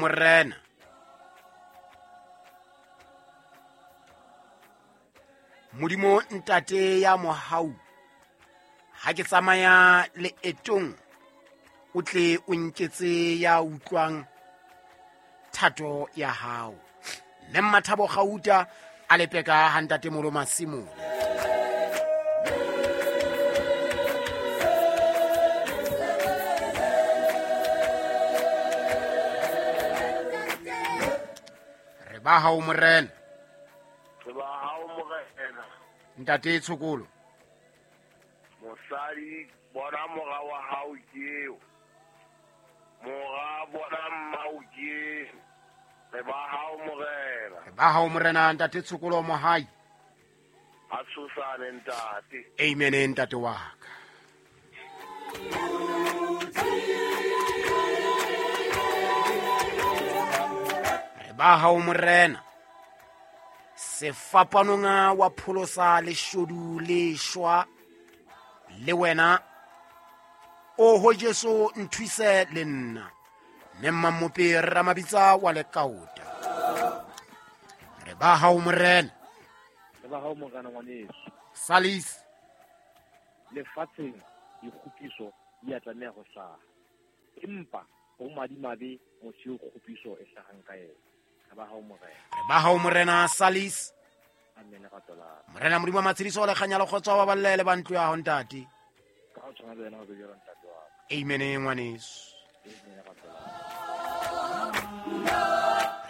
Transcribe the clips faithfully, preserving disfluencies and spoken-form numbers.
Morena. Modimo ntate ya mohau, ha ke tsamaya leetong o tle o nketse ya utlwang thato ya hao. Mme Mmathabo Gauta a lepeka ha ntate Molo Masimole. Re ba hao Morena. Re ba hao Morena. Ntate Tshokolo. Mosadi bona mora wa hao ke eo. Mora bona mmao ke. Re ba hao Morena. Re ba hao Morena ntate Tshokolo Mohai. A tshosane ntate. Amen ntate wa ka. Re ba hao Morena. Sefapanong wa pholosa leshodu le shwa le wena. Oho Jesu nthuse le nna. Mme Mmamope Ramabitsa wa Lekaota. Re ba hao Morena. Re ba hao Morena ngwaneso. Salis. Lefatsheng dikgopiso di a tlameha ho hlaha. Empa ho madimabe motho eo kgopiso e hlahang ka yena. Re ba hao Morena. Re ba hao Morena Salis. Amen rato la. Morena Modimo wa matshediso le kganya le kgotso wa balle le ba ntlo ya hao ntate. Ka ho tshwana le wena ho be jwalo ntate wa ka. Amen ngwaneso. Amen rato la.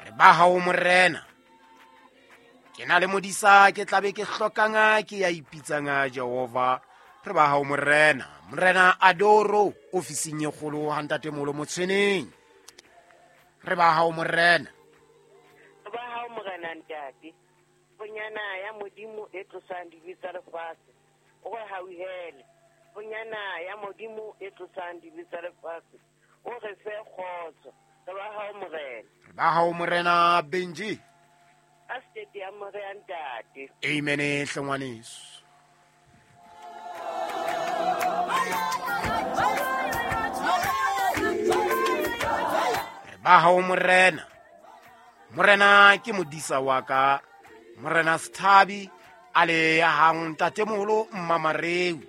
Re ba hao Morena. Ke na le modisa ke tlabe ke hlokanga ke ya ipitsanga Jehova. Re ba hao Morena. Morena Adoro ofising e kgolo ha ntate Molo Motshweneng. Re ba hao Morena. Re ba hao Morena ntate. Bonyana ya Modimo e tlosang dibe tsa lefatshe. O re hauhele. Bonyana ya Modimo e tlosang dibe tsa lefatshe. O re fe kgotso. Re ba hao Morena. Re ba hao Morena Benji. A state ya Morena ntate. Amen hle ngwaneso. Re ba hao Morena. Morena ke modisa wa ka. Morena Sthabi a le hang ntate moholo Mmamareu.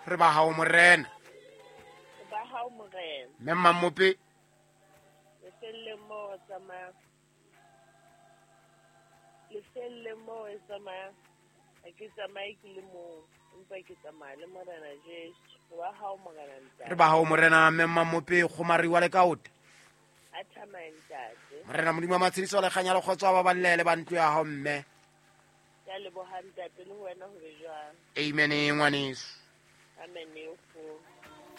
Re ba hao Morena. Re ba hao Morena. Mme Mmamope. Lefelle mo tsamaya. Lefelle mo e tsamaya. Ha ke tsamaye ke le mong, empa ke tsamaya le Morena Jesu. Re ba hao Morena ntate. Re ba hao Morena Mme Mmamope Kgomari wa Lekaota. A thamaye ntate. Morena Modimo wa matshediso le kganya le kgotso wa balle le ba ntlo ya hao mme. Ke a leboha ntate le wena ho be jwang. Amen ngwaneso. Amen.